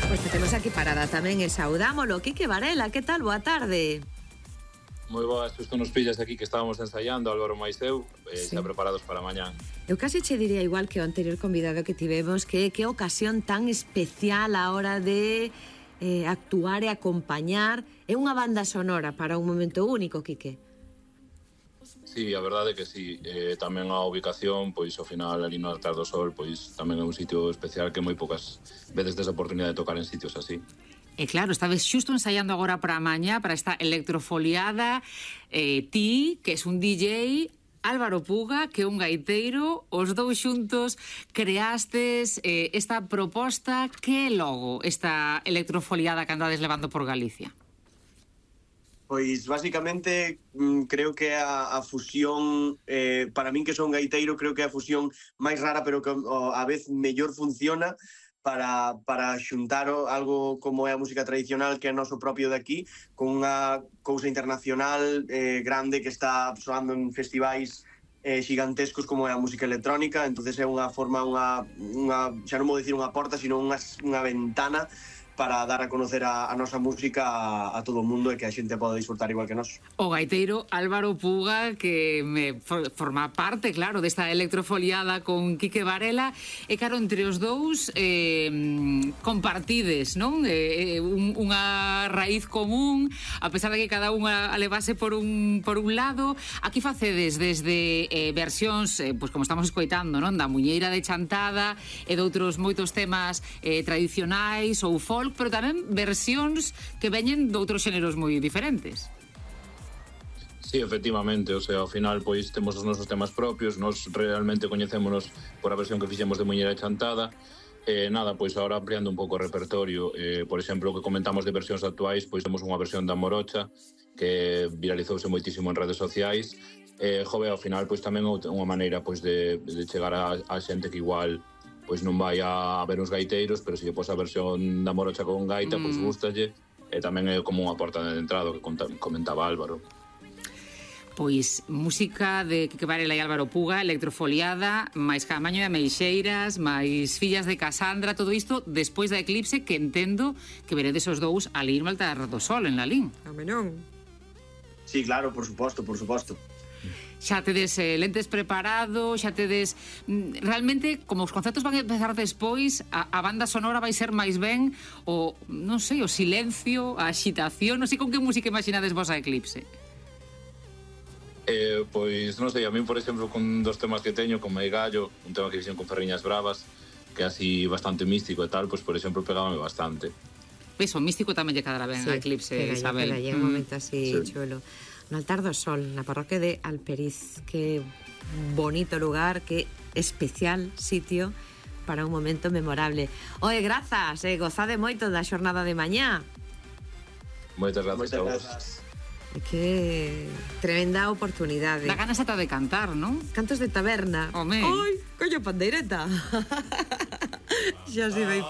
Pois que temos aquí parada tamén e saudámolo. Quique Varela, que tal? Boa tarde. Moi boas, xusto nos pillas aquí que estábamos ensaiando, Álvaro máis eu, Sí. xa preparados para mañán. Eu casi che diría igual que o anterior convidado que tivemos, que ocasión tan especial a hora de actuar e acompañar. É unha banda sonora para un momento único, Quique. Sí, a verdade é que sí, tamén a ubicación, pois ao final ali no Altar do Sol, pois tamén é un sitio especial que moi poucas veces tes a oportunidade de tocar en sitios así. E claro, estabes xusto ensaiando agora para a mañá, para esta electrofoliada, ti, que es un DJ, Álvaro Puga, que é un gaiteiro, os dous xuntos creastes esta proposta. Que é logo esta electrofoliada que andades levando por Galicia? Pois, basicamente, creo que a fusión, para min que son gaiteiro, creo que é a fusión máis rara, pero que a vez mellor funciona para xuntar algo como é a música tradicional, que é noso propio de aquí, con unha cousa internacional grande que está soando en festivais xigantescos como é a música electrónica. Entonces é unha forma, xa non vou dicir unha porta, sino unha ventana para dar a conocer a nosa música a todo o mundo e que a xente poda disfrutar igual que nós. O gaiteiro Álvaro Puga, que forma parte, claro, desta electrofoliada con Quique Varela, e claro, entre os dous compartides, non? Unha raíz común, a pesar de que cada unha a levase por un lado. Aquí facedes desde versións, pois como estamos escoitando, non? Da Muñeira de Chantada e de outros moitos temas tradicionais ou folk, pero tamén versións que veñen de outros xéneros moi diferentes. Sí, efectivamente, o sea, ao final pois temos os nosos temas propios, nós realmente coñecémonos por a versión que fixemos de Muñeira Chantada. Nada, pois agora ampliando un pouco o repertorio, por exemplo, o que comentamos de versións actuais, pois temos unha versión da Morocha que viralizouse moitísimo en redes sociais. Jove, ao final, pois tamén unha maneira pois de chegar a xente que igual pois non vai a ver uns gaiteiros, pero se lle pos a versión da Morocha con gaita, pois gustalle, e tamén é como unha porta de entrada que comentaba Álvaro. Pois música de Quique Varela e Álvaro Puga, electrofoliada, máis Camaño de Ameixeiras, máis Fillas de Casandra, todo isto despois da eclipse, que entendo que veredes os dous ali no Altar do Sol, en Lalín. Amenón. Sí, claro, por suposto, por suposto. Xa tedes lentes preparados, xa tedes... Realmente, como os concertos van a empezar despois, a banda sonora vai ser máis ben o, non sei, o silencio, a axitación, non sei con que música imaginades vos a eclipse. Pois, non sei, a min, por exemplo, con dos temas que teño, como é Gallo, un tema que fixen con Ferriñas Bravas, que é así bastante místico e tal, pois, por exemplo, pegábame bastante. Ves, o místico tamén lle cadará ben a eclipse, Isabel. Pega, un momento así chulo. No Altar do Sol, na parroquia de Alperiz, que bonito lugar, que especial sitio para un momento memorable. Oe, grazas, gozade moito da xornada de mañá. Moitas grazas a vos. Que tremenda oportunidade. Da ganas ata de cantar, non? Cantos de taberna. Home. Ai, coño, pandeireta. Xa se vai